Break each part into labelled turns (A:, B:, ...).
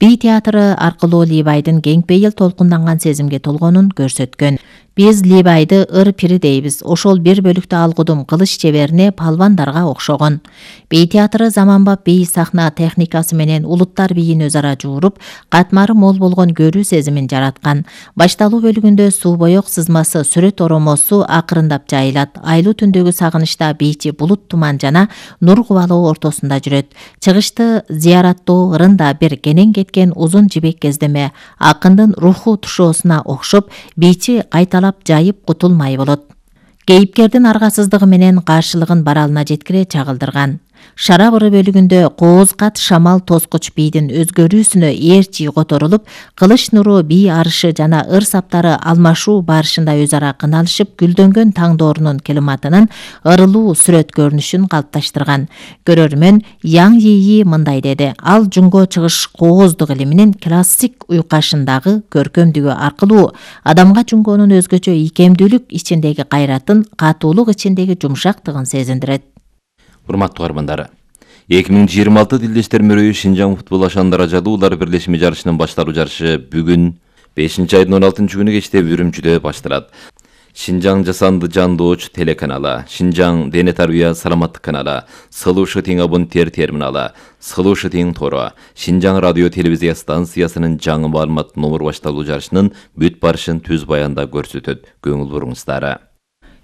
A: Би театры аркылуу Либайдын кең пейил толкунданган сезимге толгонун көрсөткөн. Биз Либайды ыр пири дейбиз. Ошол бир бөлүктө алгудум кылыч чеберине палвандарга окшогон. Би театры заманбап бий сахна техникасы менен улуттар бийин өз ара жууруп, катмары мол болгон көрүү сезимин жараткан. Башталуу бөлүгүндө суу боек сызмасы сүрөт оромосу акырындап жайылат. Айлуу түндөгү сагынычта бийчи булут туман жана нур кубалоо ортосунда жүрөт. Чыгышты зыяраттоо ырында бир кенен кеткен узун жибек кездеме акындын руху тушоосуна окшоп, бийчи кайталап жайып кутулмай болот. Кейипкердин аргасыздыгы менен каршылыгын баралына жеткире чагылдырган. Шара быры бөлүгүндө кооз-кат шамал тоскуч бийдин өзгөрүүсүнө ээрчи которулуп, кылыч нуру бий арышы жана ыр саптары алмашуу барышында өз ара кыналышып, гүлдөнгөн таңдоорунун климатынын ырылуу сүрөт көрүнүшүн калыпташтырган. Көрөрмөн Яң Йии мындай деди: ал жунго чыгыш кооздук илиминин классик уйкашындагы көркөмдүгү аркылуу адамга жунгонун өзгөчө ийкемдүүлүк ичиндеги кайратын, катуулук ичиндеги жумшактыгын сезиндирет.
B: Урматтуу каармандар, 2026 Тилдештер мөрөйү Шинжаң футбол ашандара жадуулар бирлешми жарышынын башталуу жарышы бүгүн 5-айдын 16-күнү кечте Үрүмчүдө башталат. Шинжаң жасанды жандооч телеканалы, Шинжаң дене тарбия саламаттык каналы, Сылуушы тең абоненттер терминалы, Сылуушы тең тору, Шинжаң радио телевизия станциясынын жаңы маалымат номер башталуу жарышынын бүт барышын түз баянда көрсөтөт. Көңүл буруңуздар.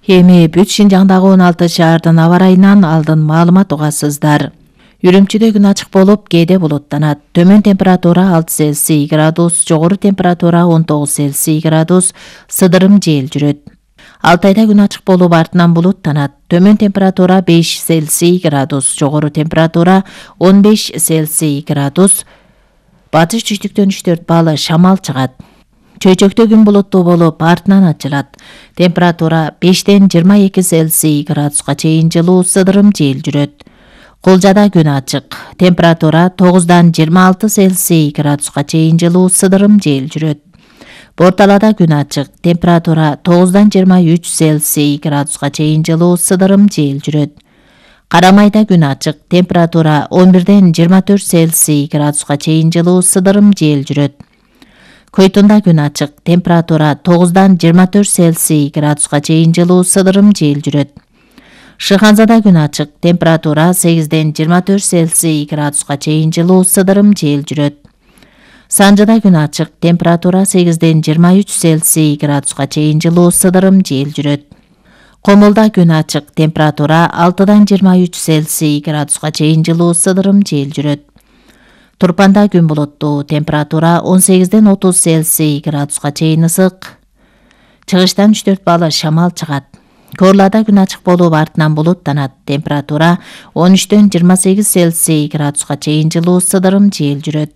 A: Эми бүт Шинжаңдагы 16 шаардын аба ырайынан алдын маалымат угасыздар. Үрүмчүдө күн ачык болуп, кээде булуттанат. Төмөн температура 6 Цельсий градус, жогору температура 19 Цельсий градус, сыдырым жел жүрөт. Алтайда күн ачык болуп, артынан булуттанат. Төмөн температура 5 Цельсий градус, жогору температура 15 Цельсий градус, батыш түштүктөн 3-4 балл шамал чыгат. Чөйчөктө күн булуттуу болуп, артынан ачылат. Температура 5-тен 22 Цельсий градуска чейин жылуу, сыдырым жел жүрөт. Кулжада күн ачык. Температура 9-дан 26 Цельсий градуска чейин жылуу, сыдырым жел жүрөт. Борталада күн ачык. Температура 9-дан 23 Цельсий градуска чейин жылуу, сыдырым жел жүрөт. Карамайда күн ачык. Температура 11-ден 24 Цельсий градуска чейин жылуу, сыдырым жел жүрөт. Көйтүндө күн ачык. Температура 9-дан 24 Цельсий градуска чейин жылуу, сыдырым жел жүрөт. Шыханзада күн ачык. Температура 8-ден 24 Цельсий градуска чейин жылуу, сыдырым жел жүрөт. Санжыда күн ачык. Температура 8-ден 23 Цельсий градуска чейин жылуу, сыдырым жел жүрөт. Комулда күн ачык. Температура 6-дан 23 Цельсий градуска чейин жылуу, сыдырым жел жүрөт. Турпанда күн булуттуу. Температура 18-ден 30 Цельсий градуска чейин ысык. Чыгыштан 3-4 балл шамал чыгат. Корлада күн ачык болуп, артынан булуттанат. Температура 13-ден 28 Цельсий градуска чейин жылуу, сыдырым жел жүрөт.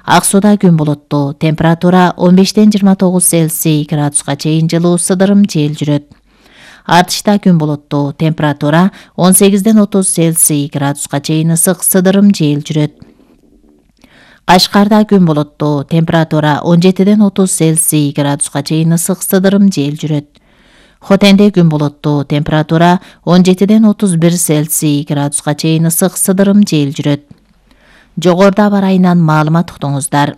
A: Ак сууда күн булуттуу. Температура 15-ден 29 Цельсий градуска чейин жылуу, сыдырым жел жүрөт. Артышта күн булуттуу. Температура 18-ден 30 Цельсий градуска чейин ысык, сыдырым жел жүрөт. Кашкарда күн булуттуу. Температура 17-ден 30 Цельсий градуска чейин ысык, сыдырым жел жүрөт. Хотенде күн булуттуу. Температура 17-ден 31 Цельсий градуска чейин ысык, сыдырым жел жүрөт. Жогоруда аба ырайынан маалымат уктуңуздар.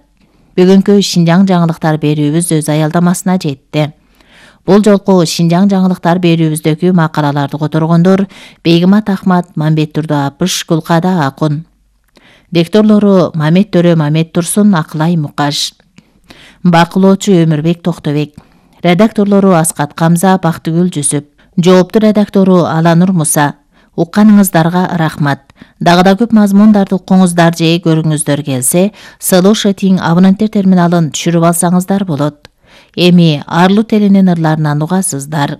A: Бүгүнкү Шинжаң жаңылыктар берүүбүз өз аялдамасына жетти. Бул жолку Шинжаң жаңылыктар берүүбүздөгү макалаларды которгондор Бейгимат Ахмат, Мамбет Турдуапыш, Гулкада Акун. Дикторлору Мамет Төрө, Мамет Турсун, Акылай Мукаш. Бакылоочу Өмүрбек Токтобек. Редакторлору Аскат Камза, Бактыгүл Жүсүп. Жоопту редактору Аланур Муса. Укканыңыздарга рахмат. Дагы да көп мазмундарды укуңуздар же көрүңүздөр келсе, Сылуушы тең абоненттер терминалын түшүрүп алсаңыздар болот. Эми Арлуу телинин ырларынан угасыздар.